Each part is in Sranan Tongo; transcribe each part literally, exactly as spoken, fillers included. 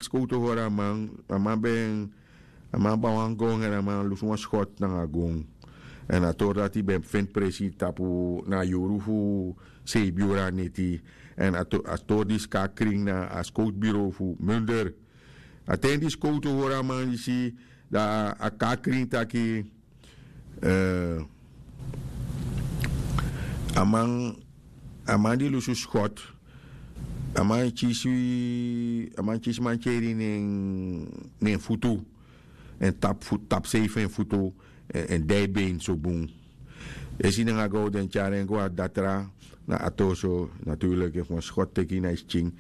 Skowtu hori a man, a man ben a man ban wan gon èn a man lusu wan skot nanga gon. Èn a tori dati ben feni presi tapu na a yuru fu seibi yuru a neti. Èn a tori disi kon na krin na a skowtu biro fu munder. A ten di skowtu hori a man disi, dan a kon na krin taki a man a man di lusu skot, a man kisi a man kisi mantyeri na en futu. Èn tapu futu tapu sei fu en futu èn dai ben so bun. Esi nanga gow den tyari en go na datra. Na a tori so naturlik efu wan skot teki na yu skin.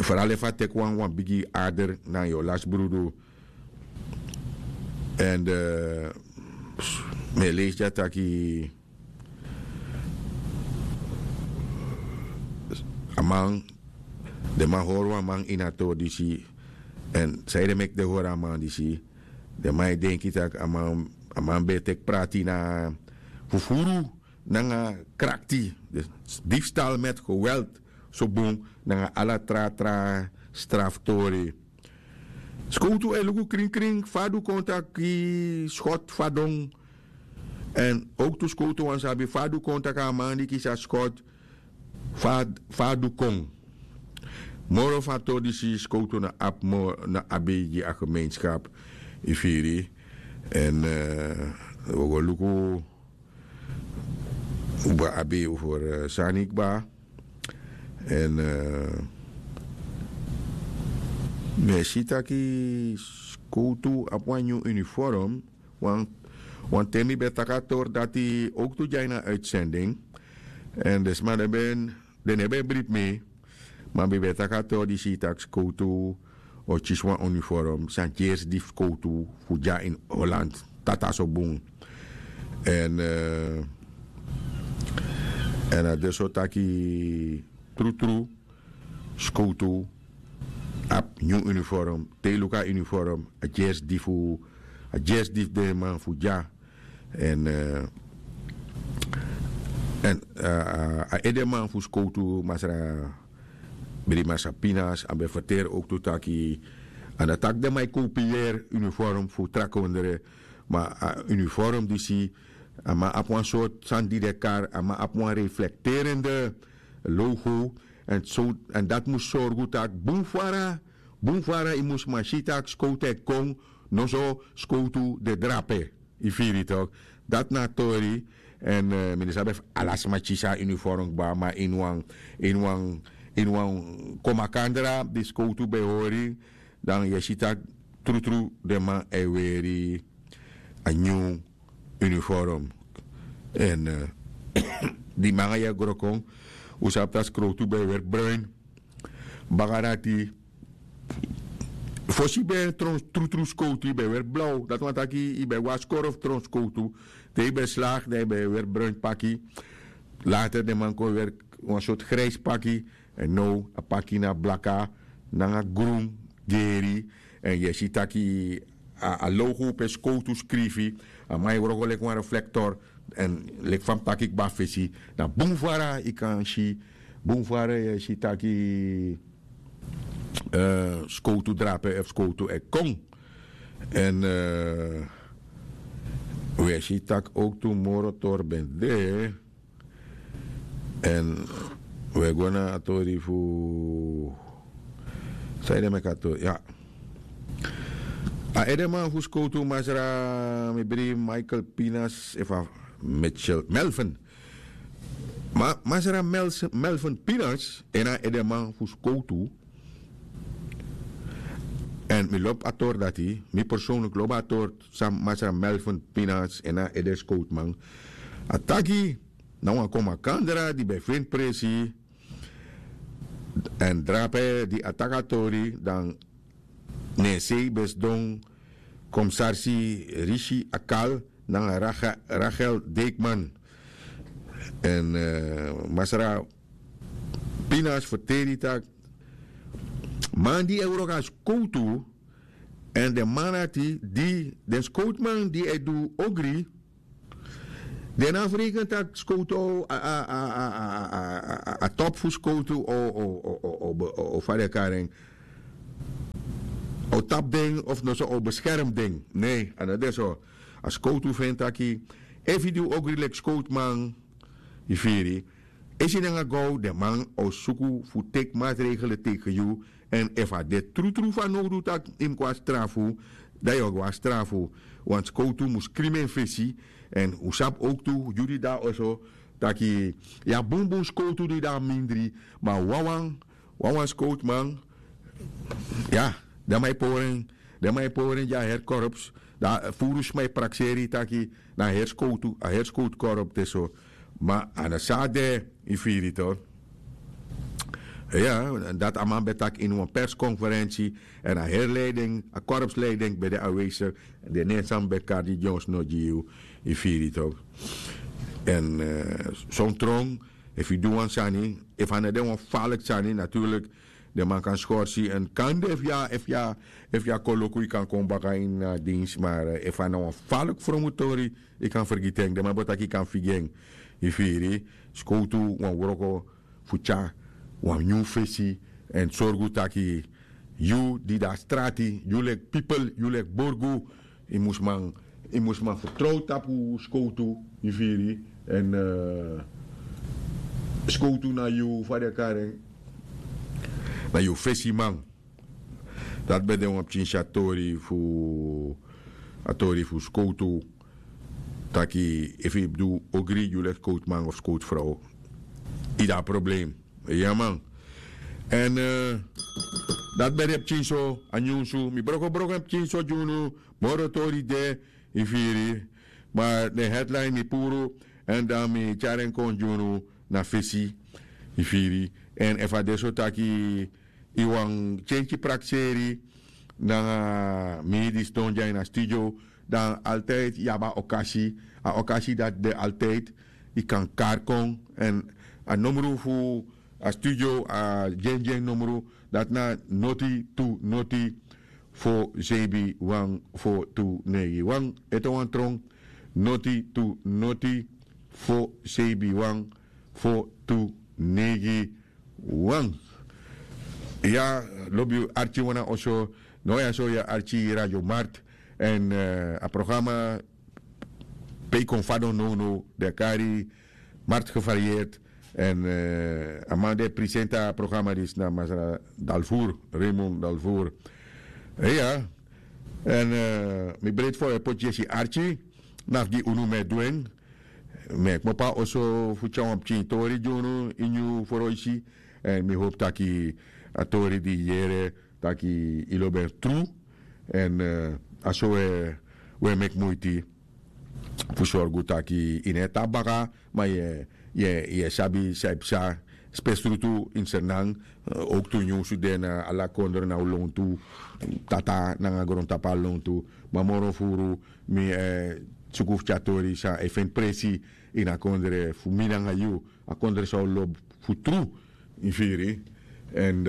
Fral efu a teki wan wan bigi ader na yu o lasi brudu. Èn mi e leisi dya taki a man den man hori wan man ini a tori disi. Èn sanede meki den hori a man disi? Den man e denki tak' a man ben e teki prati na fufuru nanga krakti. Difstal met geweld so bun nanga ala tra tra straftori. Skowtu e luku krinkrin fa a du kon taki skot fadon. Èn owktu skowtu wani sabi fa a du kon taki a man di kisi a skot fa a du kon. Moro fu a tori disi skowtu no abi moro no abi gi a gemeenskap. Yu firi? Èn wi o go luku un ben abi un fori sani kba. Èn mi e si taki skowtu abi wan nyun uniform. Wanten mi ben taki a tori dati owktu dya ini a uitsending. Èn den sma den ben den no ben bribi mi. Ma mi ben taki a tori disi tak' skowtu o kisi wan uniform san gersi di fu skowtu fu dya ini holland. Tata so bun. Èn a de so taki trutru skowtu abi nyun uniform. Te yu luku a uniform a gersi di fu a gersi di fu den man fu dya. Èn a edeman fu skowtu masra brimas a pinas a ben ferteri owktu taki a no taki den man e kopiyeri uniform fu trakondre. Ma a uniform disi a man abi wan sortu sani di den kari a man abi wan reflekterende logo. Èn dati mus sorgu tak' bun fara bun fara yu mus man si tak' skowtu e kon noso skowtu de drape. Yu firi tok'? Dati na a tori. Èn mi no sabi efu ala sma kisi a uniform kba ma ini wan ini wan ini wan kon makandra di skowtu ben hori dan yu e si tak' trutru den man e weri a nyun uniform. Èn di man nanga yu e gro kon un sabi tak' skowtu ben e weri bruin. Baka dati fosi yu ben e tron trutru skowtu yu ben e weri blaw dati wani taki yu ben e go na skoro fu tron skowtu. Te yu ben e slagi dan yu ben e weri bruin paki. Later den man kon weri wan sortu grijsi paki. Èn now a paki na blaka nanga grun geri. Èn yu e si taki a logo pe skowtu skrifi a man e wroko leki wan reflektor. Èn leki fa mi taki kba fesi na bun fara yu kan si bun fara yu e si taki skowtu drape efu skowtu e kon. Èn wi e si tak' owktu moro tori ben de. Èn wi e go na a tori fu san yu de meki a tori ya. A edeman fu skowtu masra mi bribi michael pinas efu a mitchell melvin. Masra melvin pinas en a edeman fu skowtu. Èn mi lobi a tori dati mi personlik lobi a tori san masra melvin pinas en a ede skowtuman a taki na wan kon makandra di ben feni presi. Èn drape di a taki a tori dan na en sei ben sidon komisarsi risi akal nanga rachel deikman. Èn masra pinas ferteri tak' man di e wroko na skowtu èn den man dati di den skowtuman di e du ogri den no abi fereken tak' skowtu a topu fu skowtu o fa den e kari en. o tapu den of noso o beskerm den. Nei, a no de so. A skowtu fu en taki, efu yu di un ogri leki skowtuman, yu firi, esi nanga gow den man o suku fu teki matregelen teken yu. Èn efu a de trutru fanowdu tak' yu mus go na strafu, dan yu o go na strafu. Wan skowtu mus krimi en fesi. Èn un sabi owktu yu di de na oso, taki, yu abi bunbun skowtu di de na mindri, ma wawan wawan skowtuman, ya, den man e pori en, den man e pori en gi a heri korps. Dan furu sma e prakseri yu taki na a heri skowtu, a heri skowtu korps de so. Ma a no so a de, yu firi yu to. Ya, dati a man ben taki ini wan perskonferensi. Èn a heri leiding, a korpsleiding ben de anwesigi. Den nen san mi ben kari gi ons no gi yu, yu firi yu to. Èn son tron, efu yu du wan sani, efu a no de wan faliki sani, naturlik, den man kan skorsi. Èn kande efu yu a efu yu a efu yu a koloku yu kan kon baka ini a dins, ma efu a na wan faliki fromu tori, yu kan fergiti en. Den man bo taki yu kan figi en. Yu firi, skowtu wan wroko fu tyari wan nyun fesi, èn sorgu taki yu di de na strati, yu leki pipel, yu leki borgu, yu mus man yu mus man fertrow tapu skowtu, yu firi. Èn skowtu na yu, fa den e kari en, na yu fesiman. Dati ben de wan pikin si a tori fu a tori fu skowtu, taki efu yu mus du ogri yu leki skowtuman of skowtufrow, yu de na problem. Ya man. Èn dati ben de pikin so a nyunsu, mi brokobroko en pikin so gi unu. Moro tori de, yu firi. Ma den headline mi puru, èn dan mi tyari en kon gi unu na fesi, yu firi. Èn efu a de so taki yu wani kenki prakseri nanga mi di sidon dya ini a studio, dan altid yu abi a okasi. A okasi dati de altid, yu kan kari kon. Èn a nomru fu a studio, a dyendyen nomru, dati na noti tu noti fo seibi wan fo tu neigi wan. Ete wan tron, noti tu noti fo seibi wan fo tu neigi wan. Ya, lobi arki wan na oso. No, ya so ya arki Radio Markt. Èn a programa pe yu kon fadon nownow, den e kari Markt Gevarieerd. Èn a man di e presenti a programa disi na masra Dalvoer, Raymond Dalvoer. Iya. Èn mi breiti fa un e poti yesi arki, na fu gi unu mi e du en. Mi e kmopo na oso fu tyari wan pikin tori gi unu ini yu froisi. Èn mi hopi taki a tori di yu yere, taki yu lobi en tru. Èn a so un e meki muiti fu sorgu taki yu no e tapu baka, ma yu e sabi san e psa. Spesrutu ini Sranan, owktu nyunsu de na ala kondre na un lontu, tata nanga grontapu na lontu. Ma moro furu mi e suku fu tyari tori san e feni presi ini a kondre fu mi nanga yu, a kondre san un lobi fu tru. Yu firi. Èn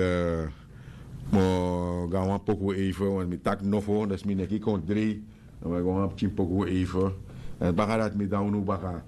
mi o go na wan poku eive, want mi taki nofo, dus mi neki kon drei. Dan mi e go na wan pikin poku eive. Èn baka dati mi de na unu baka.